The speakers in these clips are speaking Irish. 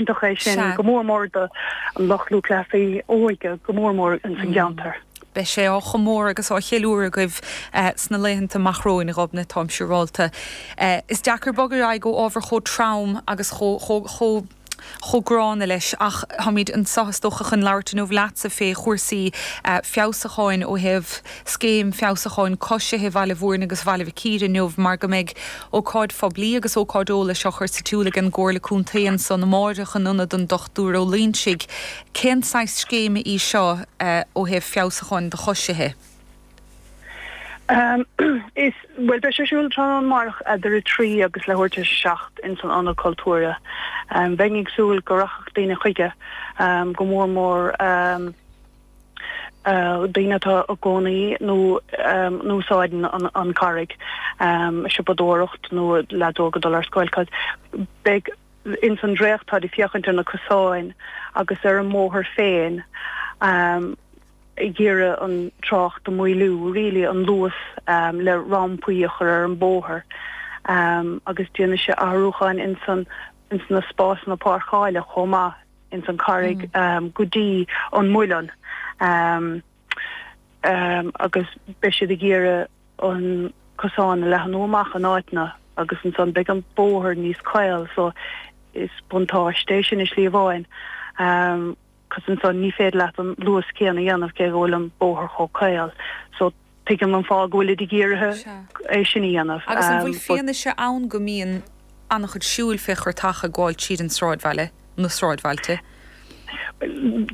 iontach é sin, go mór mór do an lucht lúthchleasaí óige, go mór mór ins an gceantar. Beidh sé á chomóradh agus á cheiliúradh agaibh sna laethanta amach romhainn, a Ghobnait, táim siúrálta. Is deacair bogadh ar aghaidh ó ábhar chomh trom agus chomh chomh gránna leis ach táimid anseo is dócha chun labhairt inniu leatsa fé chúrsaí feabhsúcháin ó thaobh scéim feabhsúcháin coisithe Bhaile Mhúirne agus Bhaile Mhic Íre inniu mar go mbeidh ócáid phoiblí agus ócáid eolais á chur sa tsiúl ag an gComhairle Contae ansan amáireach in Ionad an Dochtúir Ó Loingsigh. Cén saghas scéime í seo ó thaobh feabhsúcháin do choisithe? Is, bhuel, beidh sé ar siúl tráthnóna amárach eadar 3 agus leathuair tar éis 7 ins an Ionad Cultúrtha. Bheinn ag súil go rachadh daoine chuige, go mór mór daoine atá i gcónaí nó a úsáideann an Carraig, siopadóireacht nó leaids óga ag dul ar scoil, 'cause beidh ins an dréacht táid ag féachaint ar na cosáin agus ar an mbóthar féin. ag iarraidh an trácht a mhaolú, really, an luas le rampaí a chur ar an bóthar agus déanfaidh sé athrúcháin ins an ins na spásanna páirceáile chomh maith ins an Carraig go dtí an Muileann agus beidh siad ag iarraidh an cosán a leathnú amach in áiteanna agus ansan beidh an bóthar níos caol so is buntáiste é sin i slí amháin. 'Cos ansan ní féidir leat an luas céanna a dhéanamh cé go bhfuil an bóthar chomh caol. So tuigim an fáth go bhfuilid ag iarraidh é sin a dhéanamh. Agus an bhfuil fianaise ann go mbíonn an-chuid siúil fé churtacha ag gabháil tríd an sráidbhaile, na sráidbhailte?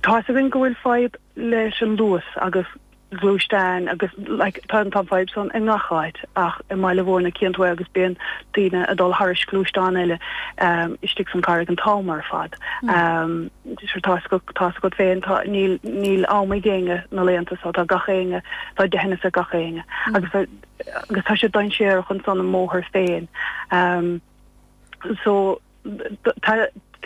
Tá's againn go bhfuil fadhb leis an luas agus gluaisteáin agus like tá an fadhb san i ngach áit ach i mBaile Mhúirne cíonn tú é agus bíonn daoine ag dul thairis gluaisteáin eile istigh san Carraig an t-am ar fad. Sure tá tá's agat féin tá níl níl am ag éinne na laethanta so tá gach éinne tá deitheanas ag gach éinne agus agus tá sé dainséarach ansan an mbóthar féin. So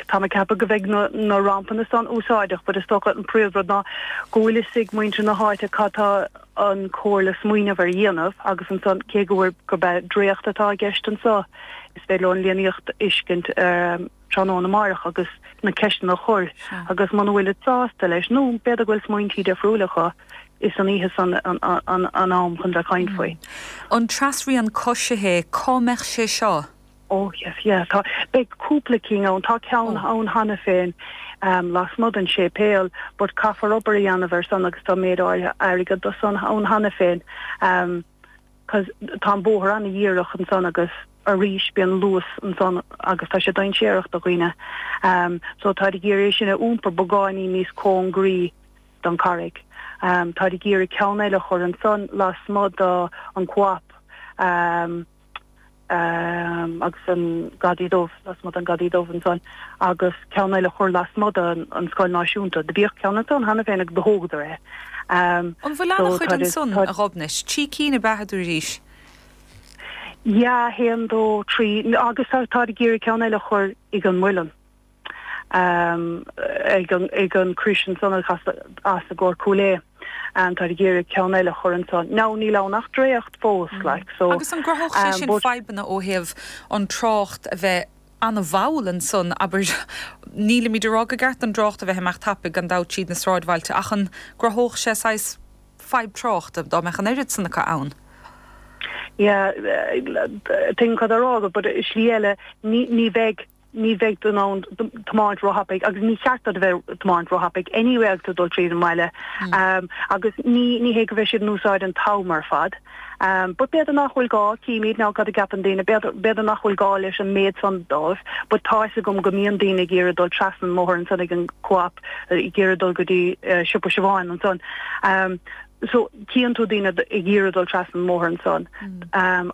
Tá mé ag ceapadh go mbeidh na rampanna san úsáideach but is dócha an príomhrud ná go bhfuil fhios ag muintir na háite cad tá an Comhairle smaoineamh ar dhéanamh agus ansan cé go bhfuil gurb é dréacht atá i gceist anso is féidir leo an líníocht a fheiscint tráthnóna amáireach agus na ceisteanna a chur agus muna bhfuilid sásta leis nó b'fhéidir go bhfuil smaointí difriúla acu is an oíche san an am chun bheith ag caint faoi. An trasrian coisithe, cá mbeadh sé seo? Oh yes, yeah, tá, beidh cúpla cinn ann, tá ceann ann cheana féin lasmuigh den séipéal but caithfear obair a dhéanamh ar san agus tá méid áirithe airgead do san ann cheana féin cos tá an bóthar an-dhíreach ansan agus arís bíonn luas ansan agus tá sé dainséarach do dhaoine so táid ag iarraidh é sin a iompar beagáinín níos cóngaraí don Charraig. Táid ag iarraidh ceann eile a chur ansan lasmuigh do an Co-op. agus an Gadaí Dubh, lasmuigh den Gadaí Dubh ansan, agus ceann eile a chur lasmuigh den Scoil Náisiúnta. Do bhíodh ceann ansan cheana féin agus do thógadar é. An bhfuil an-chuid ansan, a Ghobnait? Trí cinn ab ea a dúraís? Yeah, haon, dó, trí, agus táid ag iarraidh ceann eile a chur ag an Muileann. ag an crois ansan a chas as i gcomhair Cúil Aodha. Táid ag iarraidh ceann eile a chur ansan. Now níl ann ach dréacht fós like so. Agus an gcruthódh sé sin fadhbanna ó thaobh an trácht a bheith an-mhall ansan, abair, nílimid ag rá gur ceart don dtrácht a bheith ag imeacht tapaidh gan dabht tríd na sráidbhailte ach an gcruthódh sé saghas fadhb tráchta dá mbeadh an oiread san acu ann? Yeah, tuigim cad tá á rá agat but i slí eile ní bheidh ní bheidh tú in ann tiomáint róthapaidh agus ní cheart duit a bheith ag tiomáint róthapaidh anyway agus tú ag dul tríd an mbaile agus ní ní hé go bheidh siad in úsáid an t-am ar fad. But b'fhéidir nach bhfuil gá, címid now cad a gceapann daoine, b'fhéidir b'fhéidir nach bhfuil gá leis an méid san dóibh but tá fhios agam go mbíonn daoine ag iarraidh dul trasna an mbóthar ansan ag an Co-op ag iarraidh dul go dtí siopa Siobháin ansan. So, cíonn tú daoine ag iarraidh dul trasna an mbóthar ansan.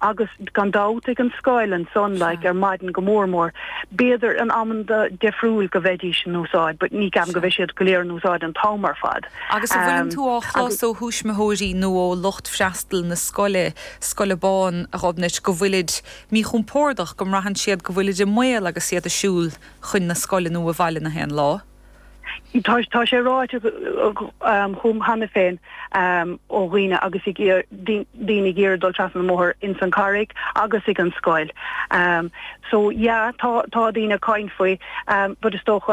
Agus gan dabht ag an scoil ansan, like, ar maidin go mór mór. B'fhéidir in amanna difriúil go bheidís in úsáid, but ní ceapaim go bheidh siad go léir in úsáid an t-am ar fad. Agus an bhfuileann tú á chlos ó thuismitheoirí nó ó lucht freastail na scoile, Scoil Abán, a Ghobnait, go bhfuilid míchompordach, go mbraitheann siad go bhfuilid i mbaol agus iad ag siúl chun na scoile nó abhaile na haon lá? Tá tá sé ráite chugam cheana féin ó dhaoine agus ag daoine ag iarraidh dul trasna an mbóthar ins an Carraig agus ag an scoil. So yeah tá tá daoine ag caint faoi but is dócha.